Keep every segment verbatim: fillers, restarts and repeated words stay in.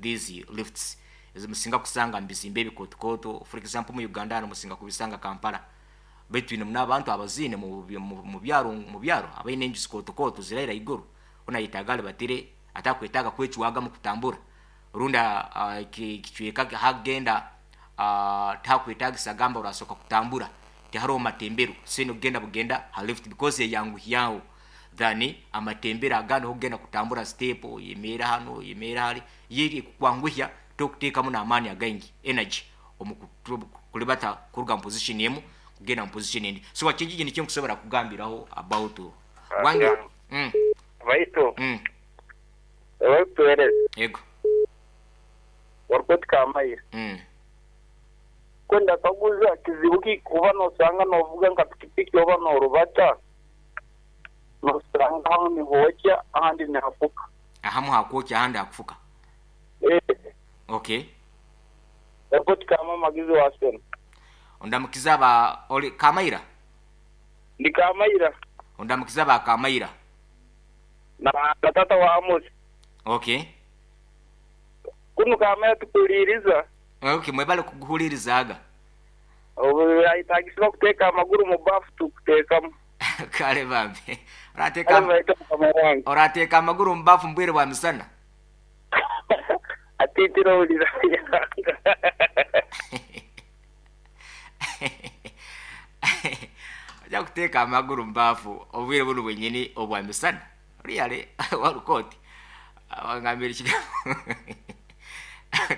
These lifts ezimusinga kusanga mu bizimbe ebikootokoto, for example mu Uganda hano musinga kubisanga Kampala, baitu twine muno abantu abaziine mu mu- mu byaro mu byaro abaine enju zikootokoto ziraira iguru. Ona yetaaga alibatire, atakwetaaga kwecwaga mu kutambura, rundi ah, ki- kicweka hagenda ah, takwetagisa gamba urasoka kutambura, tihariho matembero, sino kugenda bugenda ha lift because eyanguhyaho than amatembero agandi okugenda kutambura step, yemera hano, yemera hali. Yeri kukwanguhya, tokuteekamu n'amaani againgi, energy omu kutu- kulibata kuruga mu position emu kugenda mu position endi. So wakingi nikyo nkusobora kugambiraho about wange. Yeah. mm, Baitu mm, abakutuhereza ego. Warukoti Kamayira. mm. Kwenda kaguza, kizibu ki kuba nosanga novuga nka pikipiki oba norubata, nosanga hamwe nihokya, ahandi nihafuka? Ahamu hakwokya, ahandi hakufuka. Eh, okay. Warukoti kama magizi wa sena. Ondamukiza ba oli Kamaira? Ndi Kamayira. Ondamukiza ba Kamaira. Na na tata wa Amos. Okay. Kunu Kamayira tukuliriza. Okay, mwebale kuguhulirizaga. Obu ayitagisibwa kuteeka amaguru mu bafu, tukuteekamu. Kale bambi. Kale. Orateeka Baita mukama wange. Orateeka amaguru mu bafu mbwire bwa misana? Atitira owulira. Ojja kuteeka amaguru mu baafu obwire buno bwenyini obwa misana? Really, walukooti wangambira ekigambo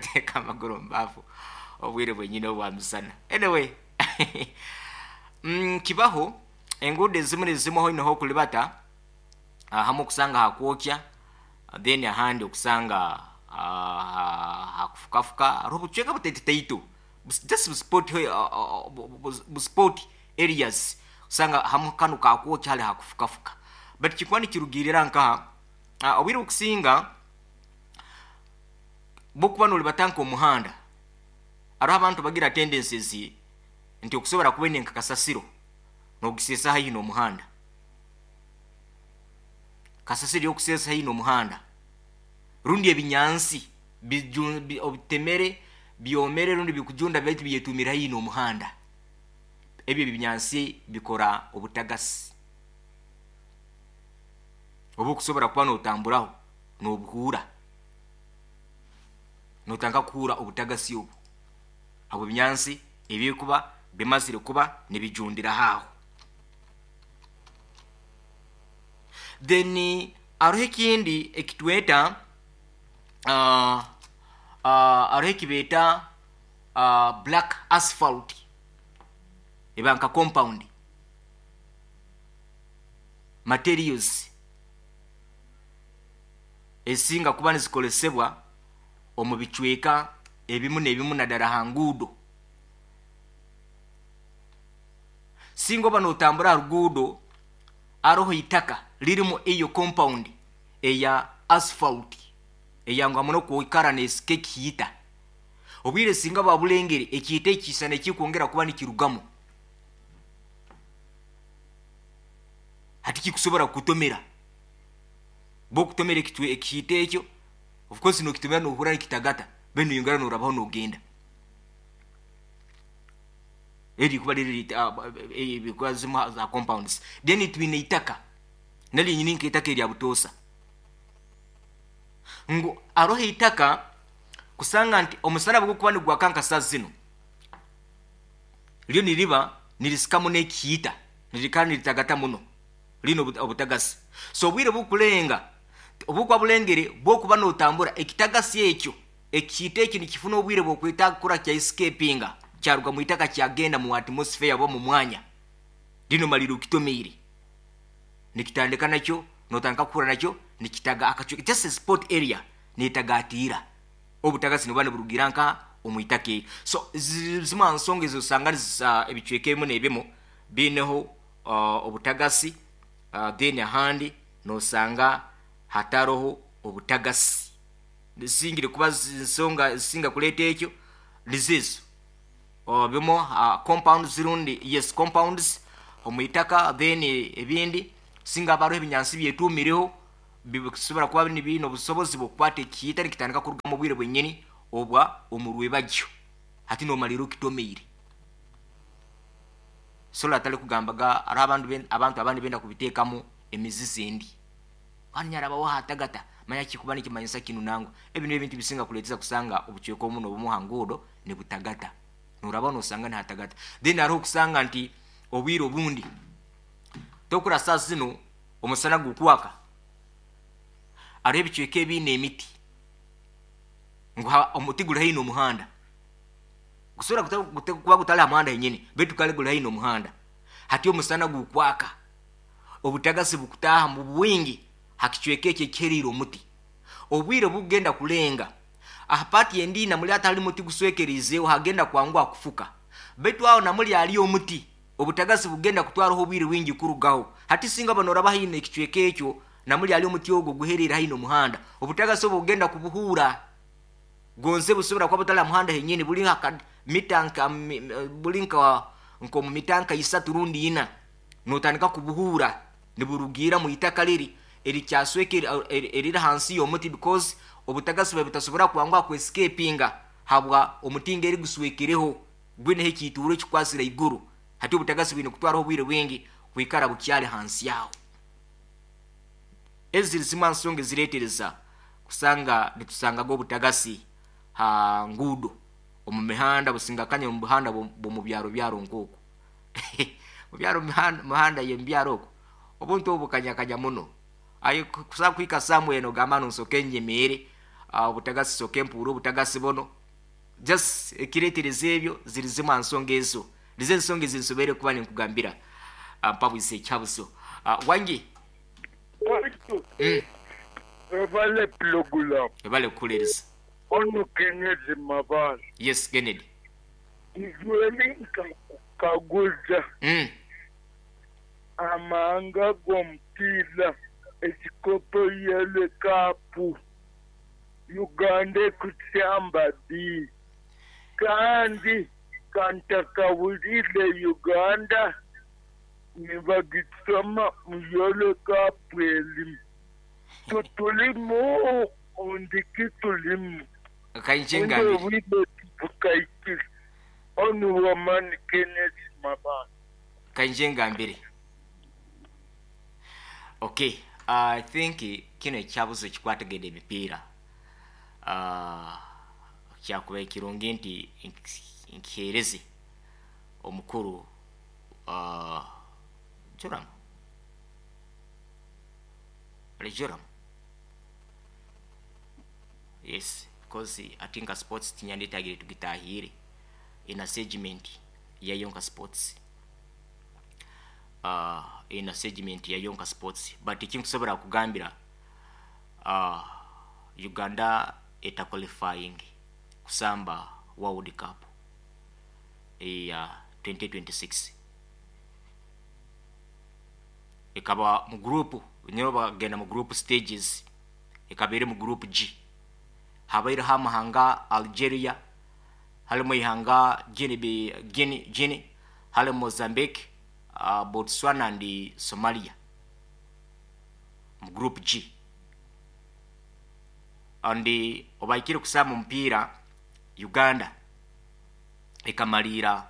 teeka amaguru mu baafu obwire bwenyini obwa misana. Anyway, mm, kibaho enguudo ezimu nezimu aho inoho okulibata, ahamu okusanga hakwokya, then ahandi okusanga ah, hakufukafuka. Hariho obucweka butaitutaito, just buspot buspot areas, osanga hamu kanu kakwokya, hali hakufukafuka, but kikuba nikirugirira nkaha ah, obwire obukusinga bwokuba nolibata nk'omuhanda, hariho abantu bagira tendencies nti okusobora kuba nka kasasiro nogisesa haihi n'omuhanda, kasasiro yokusesa haihi n'omuhanda, rundi ebinyansi biju- bi- obitemere byomere rundi bikujunda, baitu byetumire haihi n'omuhanda. Ebyo ebinyansi bikora obutagasi oba okusobora kuba notamburaho nobuhuura, notandika kuhuura obutagasi obu abo ebinyansi ebikuba bimazire kuba nibijundira aho. Then hariho ekindi ekitweta uh, uh, hariho ekibeeta uh, black asphalt, eba nka compound materials ezisinga kuba nizikolesebwa omu bicweka ebimu n'ebimu, naddala ha nguudo. Singa oba notambura ha ruguudo, aroho itaka lirimu eyo compound eya asphalt eyanguha muno kwikara nesika ekihiita. Obwire singa babulengere, ekihiita ekisana ekikwongera kuba nikirugamu, hati kikusobora kukutomera. Bwokutomera ekitwe ekihiita ekyo, of course nokitomera nohurra nikitagata, then noyongera norabaho nogenda. Eri kuba riri bikuba zimu za compounds. Then twine itaka naryo nyini nk'itaka erya butoosa, ngu aroho itaka kusanga nti omusana bwe gukuba nigwaka nka saa zino, ryo niriba nirisikamu n'ekihiita, nirikara niritagata muno, rine obu- obutagasi. So obwire bukulenga obukuba bulengere, bwokuba notambura, ekitagasi ekyo, ekihiita ekyo nikifuna obwire bwokwetaaga kukora kya escapinga, kyaruga mu itaka kyagenda mu atmosphere oba mu mwanya. Lino malire okitomeire, nikitandika nakyo, notandika kuhura nakyo nikitaga akacweka, just a spot area netagatiira. Obutagasi nibuba niburugira nka omu itaka eryo. So zi- zimu aha nsonga ezo osanga nizisa ebicweka ebimu n'ebimu biineho uh, obutagasi, uh, then ahandi nosanga hataroho obutagasi. Zisingire kuba zi- nsonga zisinga kuleeta ekyo nizizo uh, bimu uh, compounds rundi, yes, compounds omu itaka. Then ebindi singa haba hariho ebinyansi byetumireho. Bisobora kuba nibiine obusobozi bw'okukwata ekiita nikitandika kurugamu obwire bwenyini obwa omurwebagyo. Hati nomalira okitomeire sola atali kugambaga ari abantu ben- abantu abandi benda kubiteekamu emizizi endi kandi nyarabawo hatagata manya kikuba nikimanyisa kinu nangwa. Ebi nibyo ebintu bisinga kuleeteza kusanga obucweka obumu n'obumu ha nguudo nibutagata, noraba nosanga nihatagata. Then hariho okusanga nti obwire obundi tokura saa zino omusana gukwaka, hariho ebicweka ebiine emiti ngu ha- omuti guri haihi n'omuhanda, gusobora kuta- kuta- kuba gutali ha muhanda henyini, baitu kale guri haihi n'omuhanda. Hati omusana gukwaka, obutagasi bukutaaha mu bwingi ha kicweka ekyo ekiheriire omuti. Obwire bugenda kulenga aha paati endi namuli atali muti guswekeriizeeho hagenda kwanguha kufuka, baitu aho namuli ali omuti obutagasi bugenda kutwaraho obwire bwingi kurugaho. Hati singa banoraba haihi n'ekicweka ekyo namuli ali omuti ogwo guheriire haihi n'omuhanda, obutagasi obwo bugenda kubuhuura gonze busobora kuba butali ha muhanda henyini, buli nka mita nka mi- buli nka nk'omu mita nka isatu rundi ina, notandika kubuhuura niburugiira mu itaka liri erikyaswekere eriri hansi y'omuti, because obutagasi bwe butasobora kwanguha kwescapinga habwa omuti ngeri guswekereho gwineho ekiituuro ekikwasire iguru. Hati obutagasi bwine kutwaraho obwire bwingi kwikara bukyali hansi yaho. Ezi ziri zimwe ha nsonga ezireetereza kusanga nitusangaga obutagasi ha nguudo omu mihanda busingakanya omu buhanda bw'omu byaro byaro nk'oku mu byaro mihanda mihanda y'omu okwo obuntu obu bukanyakanya muno. Aye kusa kuhika somewhere nogamba nonsoke nyemeere, ah, obutagasi soke mpuure obutagasi buno. Just ekireetereza ebyo ziri zimwe ha nsonga ezo, nizo ensonga ezinsoboire kuba ninkugambira. ah, mpabwise ekyabuso. Ah, wangi. Waitu mm. webale pulogulamu. Ebale kukuleereza. Ono Kennedy Mabala. Yes, Kennedy. Izweli nkakukaguza mm. amahanga g'omupiira ekikopo Yellow Cup Uganda ekusyamba ddi, kandi kantakawulire Uganda nibagisoma mu Yellow Cup elimu tutulimu ondiki tulimu. Kainje Undi ngambire. Obwire bukaikire onu wamani Kenneth Mabala. Kainje ngambire. Okay, I think kino ekyabuzo ekikwatagenda emipiira, uh, kyakuba ekirungi nti nk- nkiheereze omukuru uh, Joram ali Joram. Yes, because ati nka sports tinyandetagire tugitahire ina segment yayo nka sports, uh, ina segment yayo nka sports. But ekinkusobola kugambira, uh, Uganda eta qualifying kusamba World Cup eya twenty twenty-six, ekaba mu group nyo bagenda mu group stages, ekaba eri mu group G. Habaireho amahanga Algeria, halimu ihanga Guinea, Guinea, Guinea, halimu Mozambique, uh, Botswana and Somalia mu group G. And obaikire kusamba omupiira, Uganda ekamalira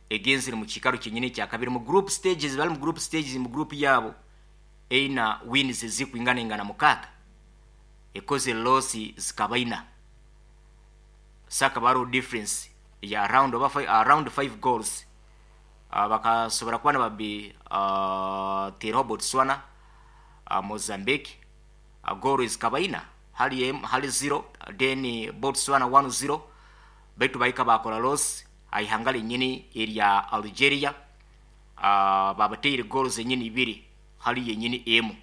egenzere mu kiikaro kyenyini ekyakabiri mu group stages. Bali mu group stages mu group yabo eina wins ezikwingana ingana mukaaga, ekoze loss zikaba ina, saka baro difference ya around oba five, around five goals. uh, bakasobora kuba nibabi uh, teraho Botswana, uh, Mozambique uh, goal zikaba ina hali, em- hali zero, then Botswana one zero, baitu bahika bakora loss aihanga lenyini erya Algeria, uh, babateire goals enyini ibiri hali yenyini emu.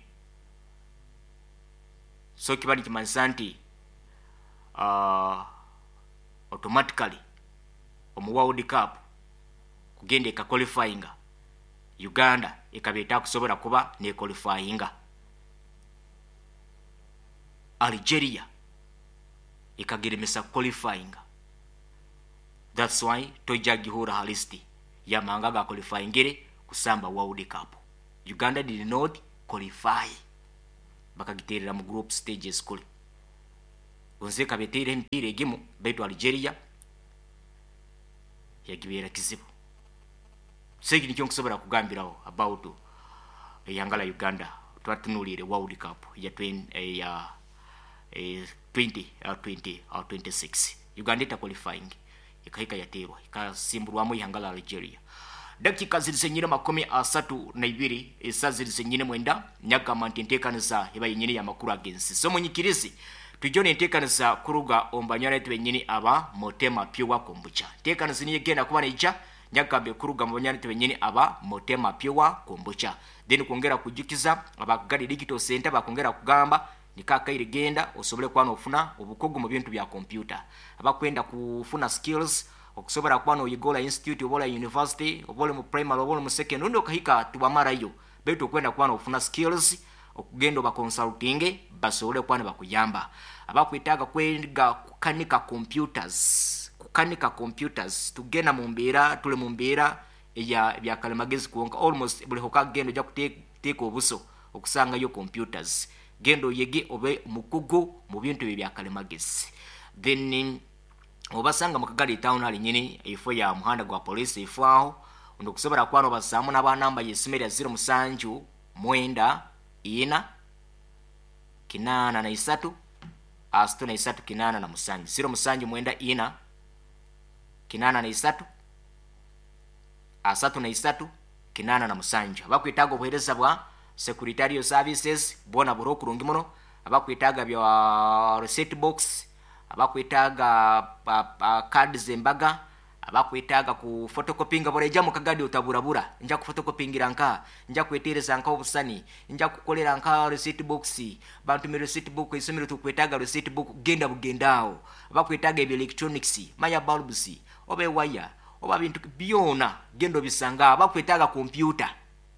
So kiba nikimanyisa nti uh, automatically omu World Cup kugenda ekaqualifyinga, Uganda ekaba etakusobola kuba nequalifyinga. Algeria ekageremesa qualifyinga, that's why tojja gihura ha list yamahanga ga qualifyingire kusamba World Cup. Uganda did not qualify. Bakagiterera mu group stages kule. Gonze kabeteire emipiira egimu, baitu Algeria yagibeera kizibu. So eki nikyo nkusobora kugambiraho about eihanga la Uganda. Twatunuliire World Cup ya twenty, ya eh, twenty, uh, twenty, uh, twenty-six. Uganda eta qualifying ikahika yaterwa, ikasimburwamu ihanga la Algeria. Dakika ziri zenyine makumi asatu na ibiri, isa ziri zenyine mwenda. Nyagamba nti enteekaniza eba yenyini y'amakuru ag'ensi. So munyikirizi tujjo nenteekaniza kuruga omu banywani benyini aba Motema Pure Kombucha. Nteekaniza niyo egenda kuba neija, nyagambe, kuruga mu banywani benyini aba Motema Pure Kombucha. Then kwongera kujukiza abakugari digital center, bakongera kugamba nikakaire genda osobole kuba nofuna obukugu mu bintu bya computer. Abakwenda kufuna skills okusobola kuba noyigola institute oba university, oba oli mu primary oba oli mu second, rundi okahika tiwamarayo, baitu okwenda kuba nofuna skills, okugenda oba consulting basobole kuba nibakuyamba. Abakwetaaga kwega kukanika computers, kukanika computers, tugenda mu mbeera, tuli mu mbeera eya byakalimagezi kwonka. Almost buli hokagenda ojja kuteeka obuso okusangayo computers. Genda oyege obe mukugu mu bintu ebyo byakalimagezi. Then obasanga mu Kagali town hali nyini ifo ya muhanda gwa polisi ifo aho ndokusobola kuba nobasaamu n'abanamba y'essimu erya zero musanju mwenda ina kinaana na isatu asatu na isatu kinaana na musanju, zero musanju mwenda ina kinaana na isatu asatu na isatu kinaana na musanju. Abakwetaaga obuheereza bwa secretarial services bwona buri okurungi muno, abakwetaaga bya receipt box, abakwetaaga cards embaga, abakwetaaga ku photocopyinga, bureja mu Kagadi otaburabura, nja kufotocopyingira nka, nja kwetereza nka obusani, nja kukolera nka receipt box, bantumire receipt book, isomero tukwetaaga receipt book, genda bugendaawo. Abakwetaaga ebya electronics, maya bulbs oba ewaya oba bintu byona, genda obisanga. Abakwetaaga computer,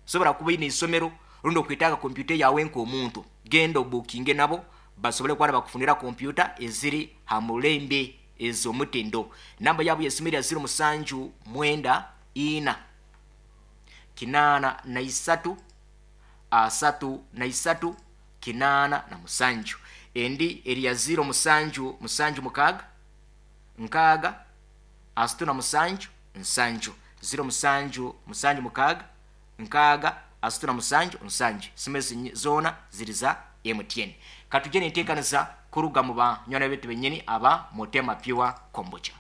sobola kuba ine isomero rundi okwetaaga computer yawe nk'omuntu, genda obukinge nabo basobole kuba bakufunira computer eziri ha mulembe ez'omutindo. Namba yabo yesimu erya zero musanju mwenda ina kinaana na isatu asatu na isatu kinaana na musanju. Endi erya zero musanju musanju mukaaga nkaaga asatu na musanju nsanju, zero musanju musanju mukaaga nkaaga asatu na musanju nsanju. Simu ezi zoona ziri za M T N. Katujje nenteekaniza kuruga mu banywani betu benyini aba Motema Pure Kombucha.